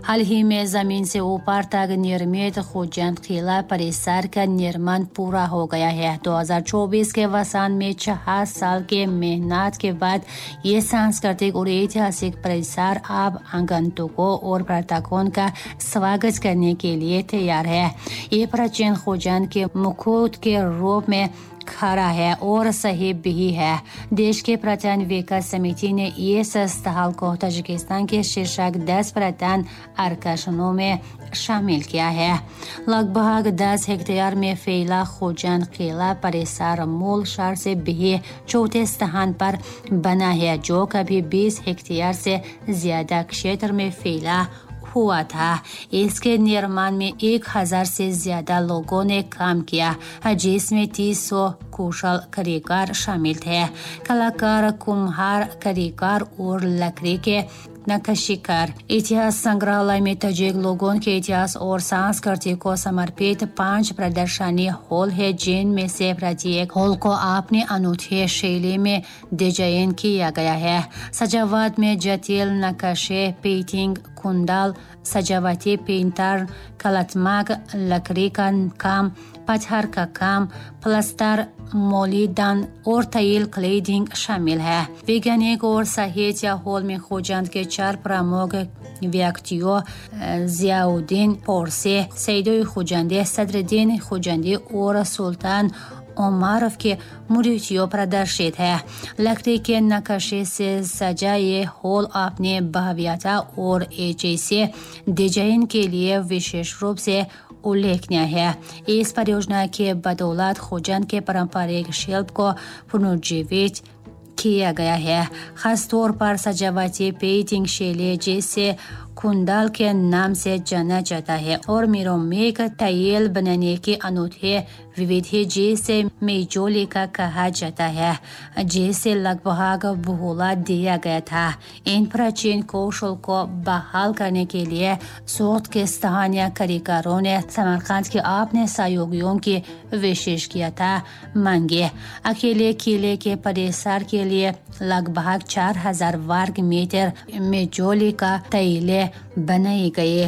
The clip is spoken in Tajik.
हाल ही में जमीन से ऊपर तक निर्मित खुजंद किला परिसर का निर्माण पूरा हो गया है। 2024 के वसंत में 6 साल के मेहनत के बाद ये सांस्कृतिक और ऐतिहासिक परिसर अब आगंतुकों और पर्यटकों का स्वागत करने के लिए तैयार है। ये प्राचीन खुजंद के मुकुट के रूप में खड़ा है और सही भी है। देश के पर्यटन विकास समिति ने इस स्थल को ताजिकिस्तान के शीर्षक 10 पर्यटन आकर्षणों में शामिल किया है। लगभग 10 हेक्टेयर में फैला खुजंद किला परिसर मूल शहर से भी चौथे स्थान पर बना है, जो कभी 20 हेक्टेयर से ज्यादा क्षेत्र में फैला हुआ था। इसके निर्माण में 1000 से ज्यादा लोगों ने काम किया, जिसमें 300 कुशल कारीगर शामिल थे। कलाकार, कुम्हार, कारीगर और लकड़ी के नक्काशीकार। इतिहास संग्रहालय में ताजिक लोगों के इतिहास और संस्कृति को समर्पित 5 प्रदर्शनी हॉल है, जिनमें से प्रत्येक हॉल को अपने अनूठे शैली में डिजाइन किया गया है। सजावट में जटिल नक्काशे, पेंटिंग, कुंडल, सजावटी पेंटर, कलात्मक लकड़ी का काम, पत्थर का काम, प्लास्टर, मोलीदान और टाइल क्लेडिंग शामिल है। वैज्ञानिक और साहित्य हॉल में खुजंद के 4 प्रमुख व्यक्तियों जियाउद्दीन पोरसे, सैदोई खुजंदी, सदरुद्दीन खुजंदी और सुल्तान उमरोव के मूर्तियों प्रदर्शित है। लकड़ी के नक्काशी से सजा ये हॉल अपने भव्यता और ऐसे डिजाइन के लिए विशेष रूप से उल्लेखनीय है। इस परियोजना के बदौलत खुजंद के पारंपरिक शिल्प को पुनर्जीवित किया गया है। खास तौर पर सजावटी पेंटिंग शैली, जिसे कुंडल के नाम से जाना जाता है, और मिरोमिक टाइल बनाने की अनूठी विधि, जिसे मेजोली का कहा जाता है, जिसे लगभग भुला दिया गया था। इन प्राचीन कौशल को बहाल करने के लिए सोत के स्थानीय कारीगरों ने समरकंद के अपने सहयोगियों की विशेष किया था मांगे। अकेले किले के परिसर के लिए लगभग 4000 वर्ग मीटर मेजोली का टाइलें बनाई गई।